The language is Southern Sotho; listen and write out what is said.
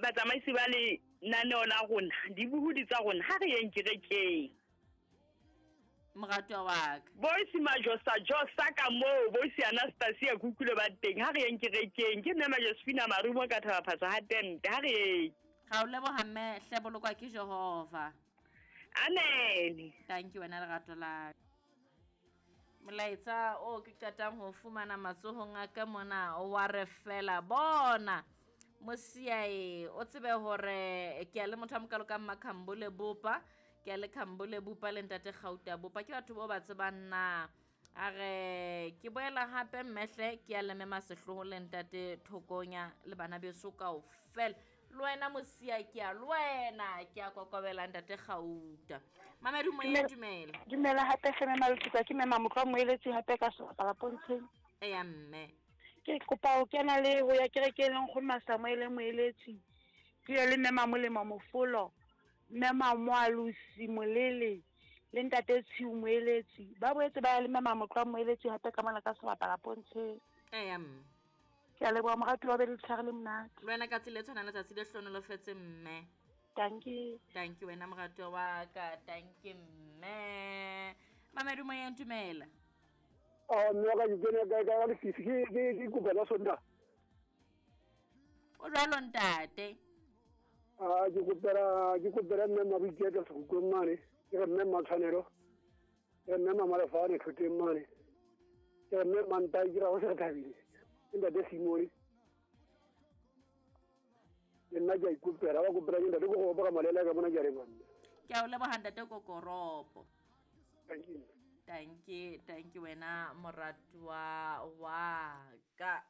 Batsamaisi ba lenaneo la rona, dibohodi tsa rona, ha re yeng kerekeng. Moratwa wa ka. Boysi Majosa Josa ka moo, Boysi Anastasia ke utlwile ba teng, ha re yeng kerekeng. Ke mme Majosephina Marumo ka Thabaphatsa ha tente, ha re yeng. Ra o leboha mme, hle bolokwa ke Jehova. Amen. Thank you wena lerato la. Molaetsa o ke qetang ho fumana matsohong a ka mona wa re fela bona mosiae o tsebe hore ke a le motho a mokalo ka mmakhambole bopa ke a le khambole bopa le ntate gauta bopa ke batho bao ba tsebang na a re ke boela hape mmehle ke a le mema sehloho le ntate thokonya le bana beso kaofela le wena mosia ke a le wena ke a kokobela ntate gauta mamedu moya dumela dumela hape hle mema letuka ke mema motlwa moeletsi hape ka sebapala pontsheng eya mme ke kopa ho kena le ho ya kerekeng le nkgono Masamuele moeletsi ke ye le mema molemo mofolo mme Mamoalosi Molele le ntate Tshiu Moeletsi ba boetse ba ya le mme Mamotlwa Moeletsi hape ka mona ka sebapala pontsheng. Eya mme. Ke a leboha moratuwa o be le letshehare le monate. Le wena ka tsela e tshwanang letsatsi le hlonolofetse mme. Dankie. Dankie wena moratuwa wa ka. Dankie mme. Mamedu moyeng dumela. Ah, mme wa ka ke kene ka ka lefifi ke ke ke kopa tsa Sontaha. O jwalo ntate. A ke kopela ke kopela mme Maboiketlo Sekhukhung mane, ke re mme Mmatshwanelo, ke re mme Mamalefane Thoteng mane, ke re mme Mmantai ke ra go se re thabile, ke ntate Simone. Le nna ke a ikopela, ba kopela ke ntate Kokoropo ka malela ka mona ke a leboha mme. Ke a o leboha ntate Kokoropo. Thank you. Thank you, thank you wena moratuwa wa ka.